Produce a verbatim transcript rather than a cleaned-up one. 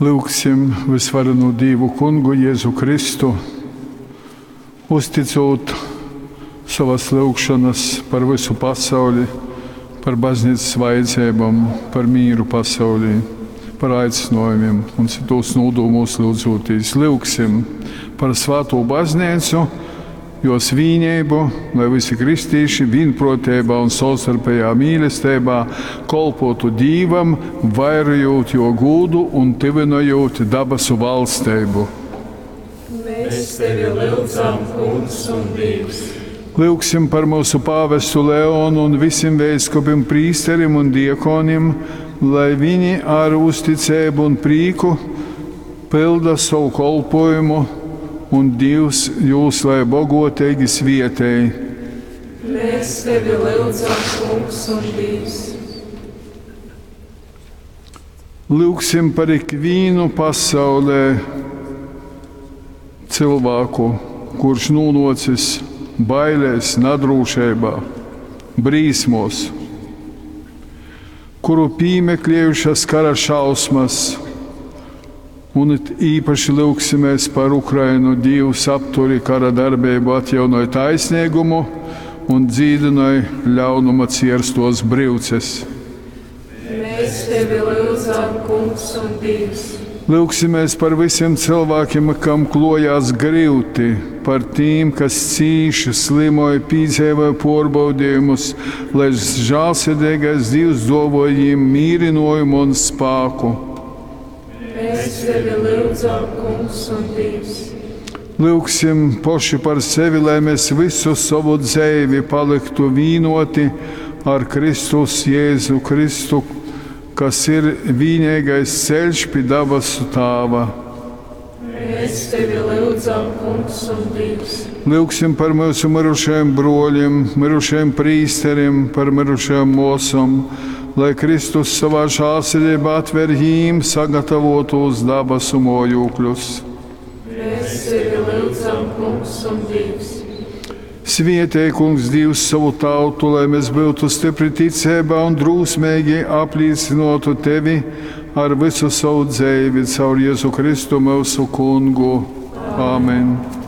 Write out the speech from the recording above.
Lyugsim vysvarenū Dīvu Kungu Jezu Kristu, uzticūt sovas lyugšonas par vysu pasauli, par baznīcas vajadzeibom, par mīru pasaulī, par aicinājumiem un cytūs nūdūmūs lyudzūtīs. Lyugsim par svātū baznīcu, jos vīneibu, lai visi kristīši vīnpruoteibā un savstarpējā mīlesteibā kolpotu Dīvam, vairojot jo gūdu un tyvynojot dabasu valsteibu. Mēs tevi lyudzam, Kungs un Dievs. Lyugsim par mūsu pāvestu Leonu un visiem veiskupim, prīsterim un diekonim, lai viņi ar uzticēbu un prīku pilda savu kolpojumu un Dievs jūs lai bogoteigi svietēj. Mēs tevi lyudzam, Kungs un Dievs. Lūgsim par ikvīnu pasaulē cilvēku, kurš nūnocis bailēs, nadrūšeibā, brīsmos, kuru pīmeklējušas kara šausmas, un it īpaši lūgsimies par Ukrainu. Dievs apturi kara darbību, atjaunoj taisnīgumu un dzīdinoj ļaunuma cierstos brīvces. Mēs tevi lyudzam, Kungs un Dievs. Lūgsimies par visiem cilvēkiem, kam klojās grūti, par tiem, kas cīši, slimoja, piedzīvoja pārbaudījumus, lai žēlsirdīgais Dievs dovoja viņiem mierinājumu un spēku. Mēs tevi lyudzam, Kungs un Dievs. Lūgsim poši par sevi, lai mēs visu savu dzīvi paliktu vienoti ar Kristus Jēzu Kristu, kas ir vienīgais ceļš pie dabasu Tāva. Mēs tevi lyudzam, Kungs un Dievs. Lūgsim par mūsu mirušajiem broļiem, mirušajiem prīsteriem, par mirušajām mosam, lai Kristus savā žēlsirdībā atver jīm sagatavotos dabasu mojūkļus. Mēs tevi lyudzam, Kungs un Dievs. Svietēj, Kungs, Dievs savu tautu, lai mēs būtu stipri ticībā un drūsmīgi apliecinotu tevi ar visu savu dzīvi caur Jēzu Kristu mūsu kungu. Āmen.